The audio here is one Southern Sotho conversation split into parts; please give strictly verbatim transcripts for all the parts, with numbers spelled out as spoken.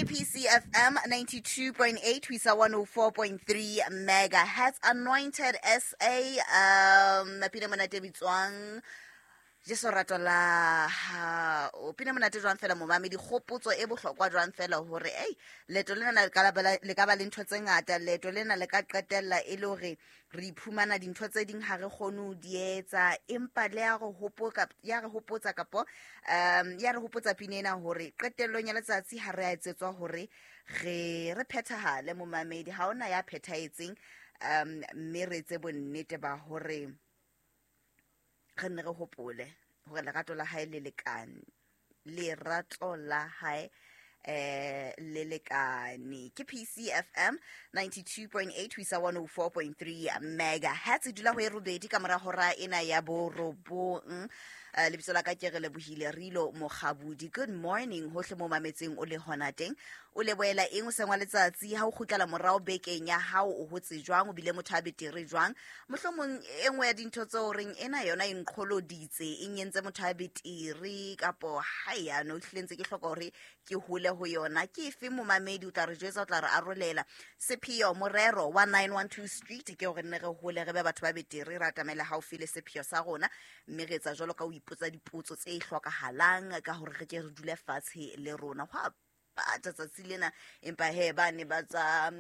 Ke P C F M ninety-two point eight ho isa one oh four point three megahertz. Anointed S A, um pina monate bitswang Jesu rato la ha o pina monate jwang fela momamedi, kgopotso e bohlokwa jwang fela hore ei leeto lena le ka ba le ka ba le ntho tse ngata, leeto lena le ka qetella e le hore re iphumana dintho tse ding ha re kgone ho di etsa, empa le ya re hopoka ya re hopotsa kapo um ya re hopotsa pina ena hore qetellong ya letsatsi ha re a etsetswa hore re re phethahale momamedi, ha ona ya phethahetseng, um mme re etse bonnete ba hore re nne re hopole hore lerato la hae le lekane, lerato la hae eh le lekane. Ke P C F M ninety-two point eight ho isa one oh four point three megahertz. Dula ho e robedi ka mora hora ena ya borobong. Uh, lebitso la ka ke re lebohile Rilo Mokgabudi. Good morning hohle mo mametseng o le hona teng, o lebohela eng o sengwa letsatsi ha o kgutlela morao bekeng ya hao, o hotse jwang, o bile motho a betere jwang, mohlomong e nngwe ya dintho tseo reng ena yona e nqholoditse e nyentse motho a betere kapo ha ya no hlile ntse ke hloka hore ke hole ho yona. Ke efe momamedi, o tla re jwetsa, o tla re arolela sepheo morero wa nine one two Street ke hore nne re hole re be batho ba betere, re atamele haufi le sepheo sa rona, mme re etsa jwalo ka ho ipotsa dipotso tse hlokahalang ka hore re ke re dule fatshe le rona. Hwa bata tsatsi lena, empa he ba ne ba tsa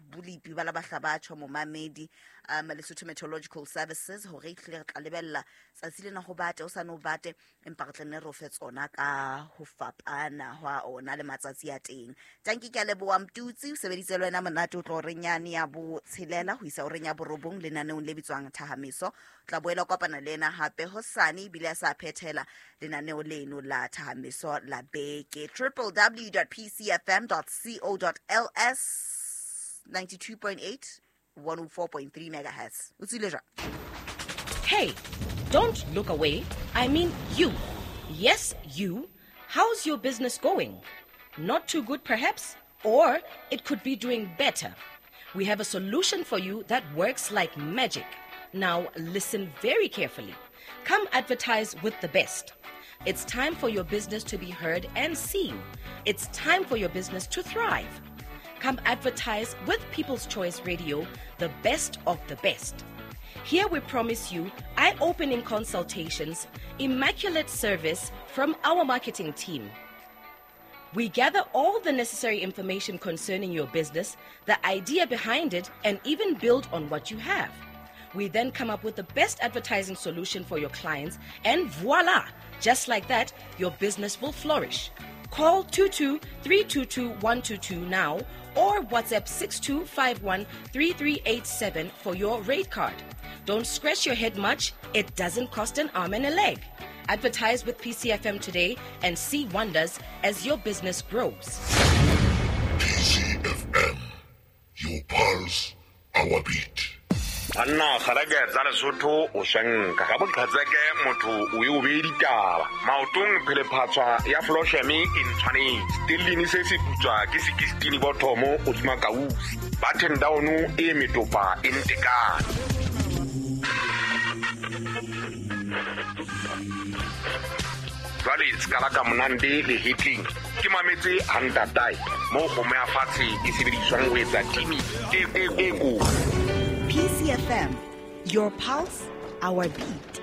bolipi ba la bahla ba tjho momamedi, um Lesotho Meteorological Services hore e tlile re tla lebella tsatsi lena ho bate o sa no bate, empa re tla nne re o fe tsona ka ho fapana hwa ona le matsatsi a teng. Tanki ke a leboha Mtutsi, o sebeditse le wena monate, o tlo re nyane ya botshelela ho isa horeng ya borobong lenaneong le bitswang Thahameso. O tla boela kopana le yena hape hosane ebile a sa phethela lenaneo leno la Thahameso la beke. triple w dot p c f m dot co dot l s ninety-two point eight one oh four point three megahertz. O tsile jwang? Hey, don't look away. I mean you. Yes, you. How's your business going? Not too good perhaps, or it could be doing better. We have a solution for you that works like magic. Now listen very carefully. Come advertise with the best. It's time for your business to be heard and seen. It's time for your business to thrive. Come advertise with People's Choice Radio, the best of the best. Here we promise you eye-opening consultations, immaculate service from our marketing team. We gather all the necessary information concerning your business, the idea behind it, and even build on what you have. We then come up with the best advertising solution for your clients, and voila! Just like that, your business will flourish. Call two two three two two one two two now or WhatsApp six two five one three three eight seven for your rate card. Don't scratch your head much. It doesn't cost an arm and a leg. Advertise with P C F M today and see wonders as your business grows. P C F M, your pulse, our beat. Banna kgareke tsa Lesotho o shanka ka boqhetseke motho o e o be ditaba maotong phelephatswa ya Flosheme e ntshwanetse stellini se se putswa ke sixteen bothomo o tsuma kausi button down e metopa e ntekane. Jwale skala ka monande le hitling ke mametse hantatai mo kgomo ya fatshe e sebediswang ho etsa timi e e e ko. P C F M, your pulse, our beat.